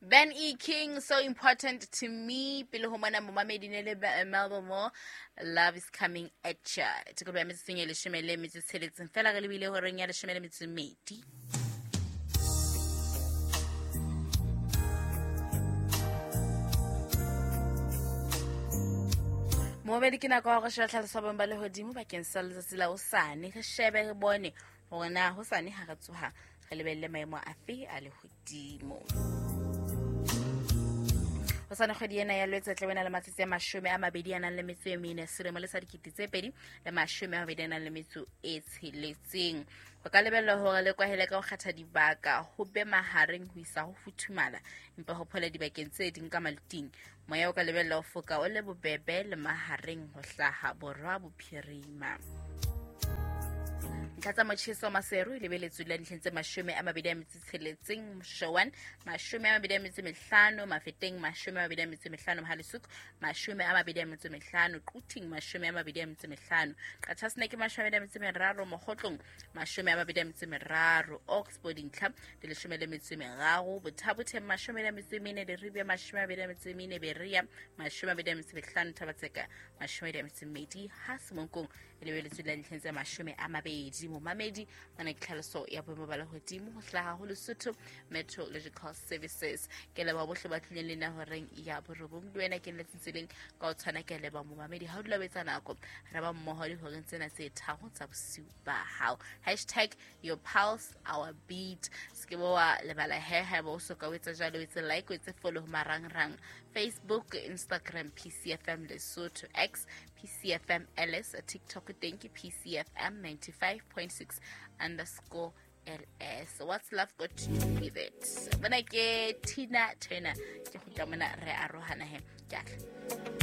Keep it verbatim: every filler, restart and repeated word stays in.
Ben E. King, so important to me. Pele ho mona momamedi ne le Melba Moore, love is coming at ya. Tikoloho ya metsotsong e leshome le metso e tsheletseng fela re lebile horeng ya leshome le metso e mmedi. Momamedi, ke nako ya hore sheba tlhaloso ya boemo ba lehodimo bakeng sa letsatsi la hosane. Re shebe re bone hore na hosane ha re tsoha re lebelle maemo afe a lehodimo. Hosane kgwedi ena ya Lwetse tla bena le matsatsi a mashome a mabedi a nang le metso e mene, selemo le sa dikete tse pedi le mashome a mabedi a nang le metso e tsheletseng. Ho ka lebellwa hore le kwahele ka ho kgetha dibaka ho be mahareng ho isa ho futhumala, empa ho phole dibakeng tse ding ka maluting. Moya o ka lebellwa ho foka o le bobebe le mahareng ho hlaha borwa bophirima. Ntlha tsa motjheso Maseru e lebeletswe la dintlheng tse mashome a mabedi a metso e tsheletseng, Moshowan mashome a mabedi a metso e mehlano, Mafeteng mashome a mabedi a metso e mehlano, Mohalesuku mashome a mabedi a metso e mehlano, Quthing mashome a mabedi a metso e mehlano, Qachaseneke mashome a mabedi a metso e meraro, Mokgotlong mashome a mabedi a metso e meraro, Oxford dintlha di leshome le metso e meraro, Bothabotheng mashome a metso e mene, Leribia mashome a mabedi a metso e mene, Berea mashome a mabedi a metso e mehlano, Thabatseka mashome a mabedi a metso e mmedi, ha Semonkong e lebeletswe la dintlheng tse mashome a mabedi. Momamedi, mona ke tlhaloso ya boemo ba lehodimo ho hlaha ho Lesotho Meteorological Services. Ke leboha bohle ba tlileng le nna horeng ya borobong. Le wena ke letseng tseleng ka ho tshwana, ke a leboha momamedi. Ha o dula o etsa nako, re ba mmoho dihoreng tsena tse tharo tsa bosiu ba hao. Hashtag your pulse, our beat. Se ke wa lebala he haeba o soka o etsa jwalo, o etse like, o etse follow ho marangrang Facebook, Instagram, P C F M Lesotho, X, P C F M L S, TikTok teng ke P C F M ninety-five point six underscore L S. What's love got to do with it? Bona ke Tina Turner. Ke kgutla mona re arohana he. Ke a tla.